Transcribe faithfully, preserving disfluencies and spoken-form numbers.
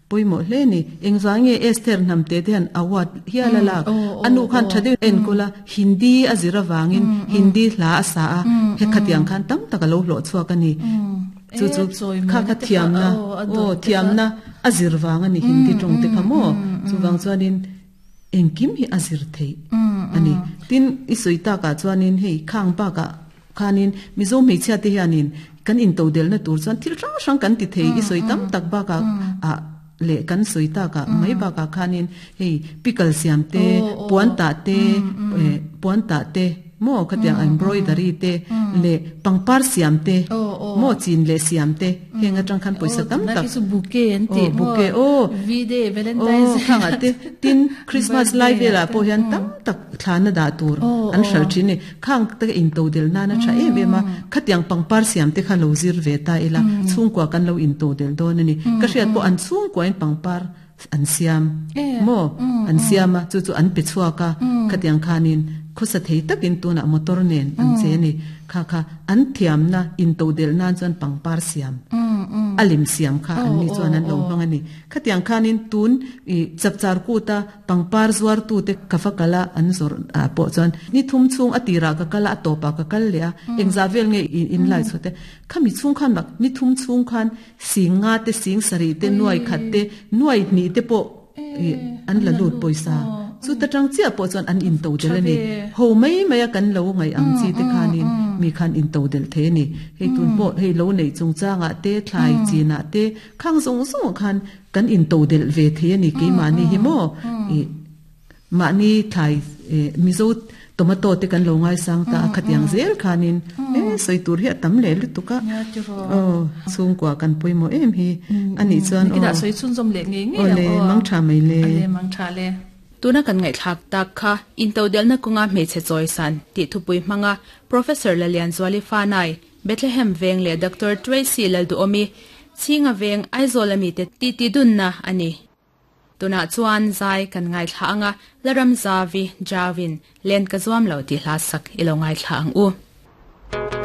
Poimo hle ni engzange Esther namte te han award hiala la anu khan thade en kola Hindi azira wangin Hindi hla asa a he khatiang khan tam taka lo hlo chuak ani chu chu kha kha thiam na o thiam na azir wang ani Hindi tong te khamo chu wang chuanin engkim hi azir thei ani tin isuita ka chuanin hei khang pa ka khanin mizo mei chha te hianin kan in todel na tur chuan thil rang rang kan ti thei isoi tam tak ba ka a le kan soita ka mai ba ka khanin hei pickle siam te puan ta te puan ta te mo khatiang embroidery te le pangpar siam te mo chin le siam te henga tang khan poisa tam tak su bouquet an te bouquet o V day Valentine's khanga te tin Christmas live la po hian tam tak thlana da tur an shal thini khang te in to del na na tha em em a khatiang pangpar siam te kha lo zir ve ta ila chungkwa kan lo in to del don ani ka hriat po an chungkwa in pangpar an siam mo an siama chu chu an pe chuaka khatiang khanin khosa thei takin tuna motor nen an che ni kha kha an thiam na in to del nan chuan pangpar siam alim siam kha an ni chuan an lo hmang ani khatiang khanin tun i chapchar ku ta pangpar zuar tu te kafakala an zor a po chuan ni thum chung atira ka kala atopa ka kal le a engza vel nge in lai chote khami chung khan bak ni thum chung khan singa te sing sari te nuai khat te nuai ni te po an la lut poisa chu ta tang chia po chuan an in to del ani ho mai mai a kan lo ngai ang chi te khanin mi khan in to del the ni hei tun po hei lo nei chung changa te thlai china te khang zong zong khan kan in to del ve the ni ke ma ni hi mo i ma ni thlai mizo tomato te kan lo ngai sang ta khatiang zel khanin e soi tur hi tam le lutuka o chung kwa kan poimo em hi ani chuan o ki da soi chun zom le nge nge o le mang tha mai le le mang tha le tuna kan ngai thak tak kha intodel na kunga hmeichhe choisan ti thupui hmanga Professor Lalian Zwali Fanai Bethlehem Veng le Doctor Tracy Lalduomi Chinga Veng Aizawl ami te ti ti dun na ani tuna chuan zai kan ngai thla anga laram zavi javin len ka zuam lo ti hla sak ilo ngai thla ang u.